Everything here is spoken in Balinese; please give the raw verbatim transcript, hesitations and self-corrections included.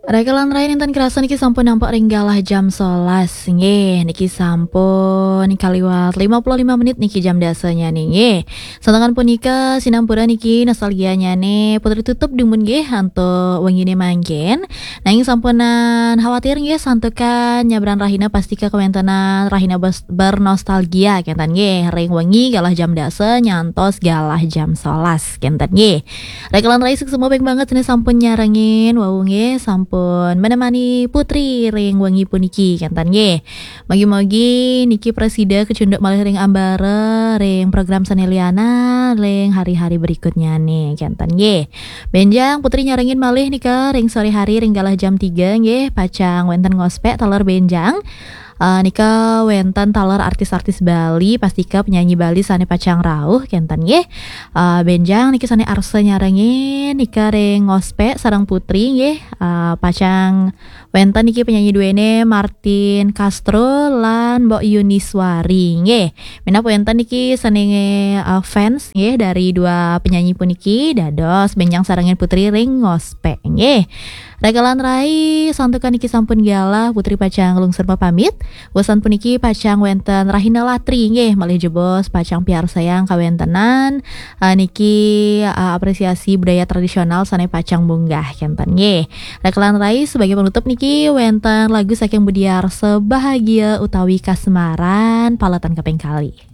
Raka lan rai, nénten kerasa niki sampun nampak ring galah jam sebelas. Nggih, niki sampun kaliwat lima puluh lima menit niki jam dasanya nih, nggih. Santukan punika sinampura niki nostalgianya nih Putri tutup dumun nggih antuk wengine mangkin. Nanging sampunan khawatir nggih santukan nyabran rahina pastika kawentenan rahina bes-, bernostalgia kenten nggih. Ring wengi galah jam dasa nyantos galah jam sebelas kenten nggih. Raka lan rai, suksma banget sané sampun nyarengin wau nggih, sampun menemani Putri ring wengi puniki kenten nggih. Mugi-mugi niki prasida kacunduk malih ring ambara ring program sané lianan ring hari-hari berikutnya nih kenten nggih. Benjang Putri nyarengin malih nika ring sore hari ring galah jam tiga nggih, pacang wenten ngospek taler benjang. Eh, nika wenten taler artis-artis Bali, pastika penyanyi Bali sané pacang rauh kenten nggih. Eh, benjang niki sané arsa nyarengin nika ring ngospek sareng Putri nggih. Eh, pacang wenten niki penyanyi duene Martin Castro lan Mbok Yuniswari nggih. Minab wenten niki sané, eh, fans nggih dari dua penyanyi puniki, dados benjang sarengin Putri ring ngospek nggih. Raka lan rai, santukan niki sampun galah, Putri pacang nglungsur pamit. Wusan puniki pacang wenten rahina latri nggih, malih jebos pacang piarsayang kawentenan, eh, niki, eh, apresiasi budaya tradisional sané pacang munggah kenten nggih. Raka lan rai, sebagai penutup niki wenten lagu saking Budi Arsa, Bahagia Utawi Kasmaran, paletan kaping kalih.